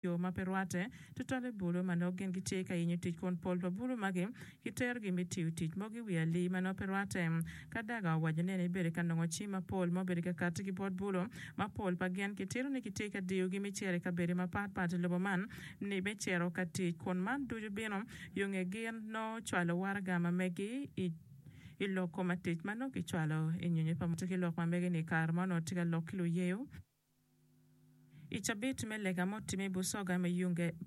Yo ma pe rwatte, tutwalle bulu ma nongo gin gitye ka yenyo tic kun pol pa bulu magi kiterogi me tiyo tic mogo i wi alii ma nongo pe rwatte. Kadaga owaco ni en ebedo ka nongo cim mapol ma obedo ka katti ki bot bulu ma pol pa gin kitito ni kitye ka diyogi me cito i kabedo mapat pat i lobo man ni me cito ka tic kun man ducu bino yo nge gin nongo cwalo waraga ma megi i i lok kom tic ma nongo kicwalo i nyonyo pa ki lok ma mege ni i kare ma onongo tye ka lok ki luyeyo. I cabit me lega ma otimme i Busoga me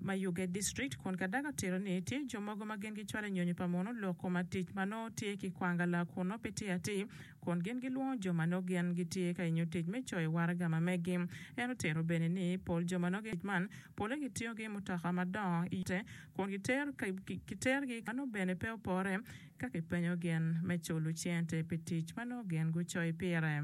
Mayuge District kun Kadaga otito ni tye jo mogo ma gin gicwalo nyonyo pa munu lok kom atic ma nongo tye ki kwangala kun nongo pe tye atir kun gin gilwongo jo ma nongo gin gitye ka yenyo tic me coyo waraga ma meggi. En otito bene ni pol jo ma nongo gin man pole gitingo ki mutoka madongo i kun giterogi ma nongo bene pe opore ka kipenyo gin me culo cente pi tic ma nongo gin gucoyo pire.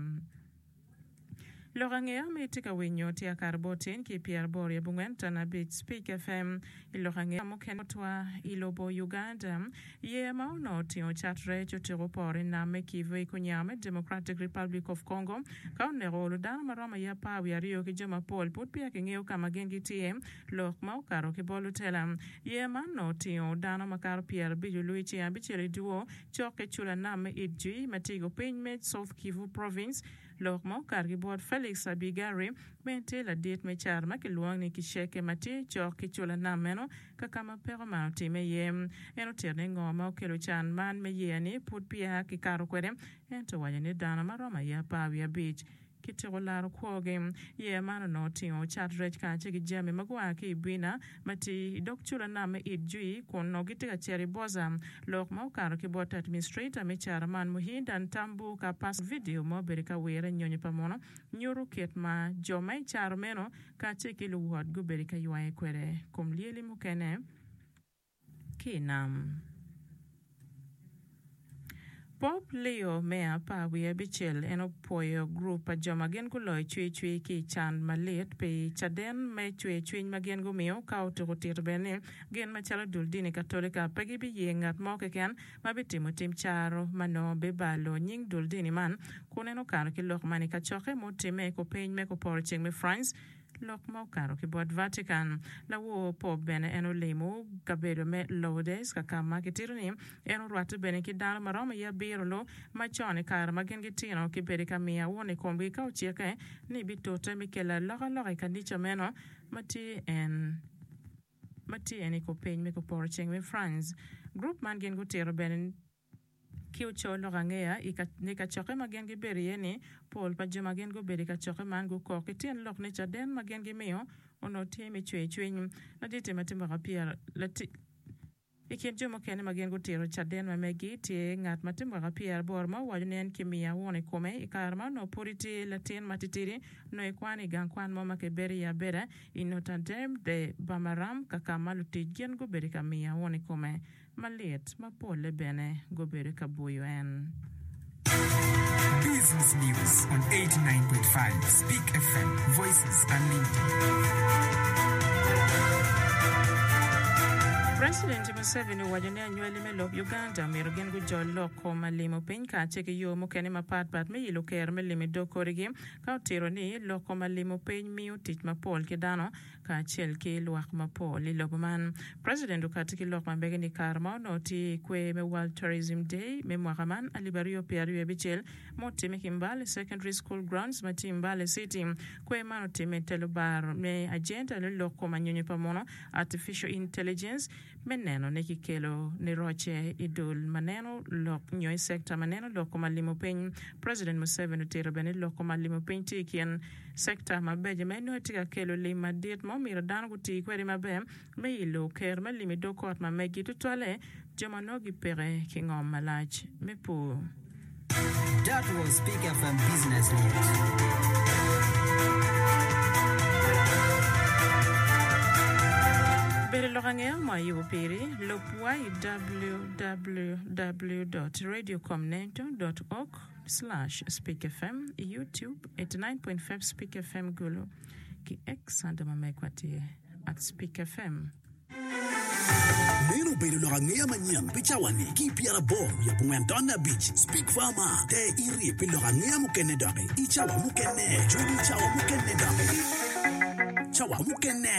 Lok angeya ma itye ka winyo tye akato bot tin ki pyeraboro i abongwen tana abic Speak FM. I lok angeya mukene botwa i lobo Uganda, yeya ma onongo otingo cat rec otyeko poro i nam me Kivu i kunyango me Democratic Republic of Congo ka oneko olo dano ma romo aye apar wiye aryo ki jo mapol pud peya kingeyo ka ma gin gitye. Lok ma okato ki bot lutela, yeya man onongo otingo dano makato pyerabic olu i ceng abicel i dyewor cok ki cula nam me Idjwi ma tye i kupiny me South Kivu Province. Lok ma okato ki bot Felix Abigari, ma en tye ladit me caro ma kilwongo ni Kiceke ma tye cok ki cula nam meno ka ka ma peko man otimme iye. En otito ni ngo ma okelo can man me yeya-ni pud peya kikato kwede, ento owaco ni dano ma romo aye apar wiye abic Kityeko laro kwogi. Yeya man onongo otingo cat rec kacel ki jami ma gua ki i Bwina ma tye i dog cula nam me Idjwi kun onongo gitye ka cito i Boza. Lok ma okato ki bot administrator me caro man Muhinda Ntambu ka pas vidio ma obedo ka wire i nyonyo pa muno nyuto kit ma jo ma i caro meno kacel ki luwot gubedo ka ywaye kwede kom lyeli mukene. Ki i nam. Pop Leo me apar wiye abicel en opwoyo gurup pa jo ma gin guloyo cwercwer ki i can malit pi caden me cwercwiny ma gin gumiyo ka otuko tito bene ni gin macalo dul dini Katolika pe gibiye ngat mo keken ma bitimo tim caro ma nongo bibalo nying dul dini man kun en okato ki lok man i kacokke mutimme i kupiny me kuporo ceng me France Lok ma okato ki bot Vatican. Lawor Pope bene en olimo kabedo me Lourdes ka ka ma kitito ni en orwatte bene ki dano ma romo i abiro lu macon i kare ma gin gitino ki bedo ka miyo awun i komgi ka ocikke ni bitute me kelo alokaloka i kanica meno ma tye en ma tye en i kupiny me kuporo ceng me France. Gurup man gin gutito bene Ki oco lok angeya i ni kacokke ma gin gibedo iye ni, pol pa jo ma gin gubedo i kacokke man gukok ki tyen lok ni caden ma gin gimiyo onongo tye me cwer cwiny. Laditi ma tye mwaka pyera I kin jo mukene ma gin gutito caden ma megi tye ngat ma tye mwaka pyeraboro ma owaco ni en kimiyo awun i kome i kare ma onongo pud etye latin matitidi onongo ekwano i gang kwan mo ma kibedo iye abeda i Notre Dame de Bamaram ka ka ma lutic gin gubedo ka miyo awun i kome. malit ma polle bene gubedo ka bwoyo en. Business News on 89.5 Speak FM, Voices Unlimited. President Museveni owaco ni anywali me lob Uganda myero gin gujol lok kom alimo piny kacel ki yo mukene mapat pat me yilo kero me limo i dog kodigi ka otito ni lok kom alimo piny miyo tic mapol ki dano kacel ki lwak mapol i lobo man. President okati ki lok ma mege ni kare ma onongo tye i kwer me World Tourism Day me mwaka man 2026 ma otimme ki Mbale Secondary School Grounds ma tye i Mbale City. Kwer man otimme i te lubaro me agenda me lok kom anyonyo pa muno, Artificial Intelligence, me neno ni kikelo niroce i dul ma neno lok nyo i sector ma neno lok kom alimo piny. President Museveni otito bene ni lok kom alimo piny tye i kin Sekta mabeco ma inongo tye ka kelo lim madit ma omyero dano guti kwede maber me ilo ker me lim i dog kot ma megi tutwalle jo ma nongo gipeke ki ngom malac me pur. That was Big FM Business News. Bedo lok angeya mo ayubo piri, lub wa i www dot radiocomneto dot org. Slash Speak FM i YouTube 89.5 Speak FM Gulu ki X ento ma megwa tye at Speak FM. Meno obedo lok angeya manyen pi cawa-ni ki pyeraboro wiye abongwen tonne abic. Speak Farmer, Ter iti pi lok angeya mukene doki i cawa mukene. Cwiny i cawa mukene doki. cawa mukene.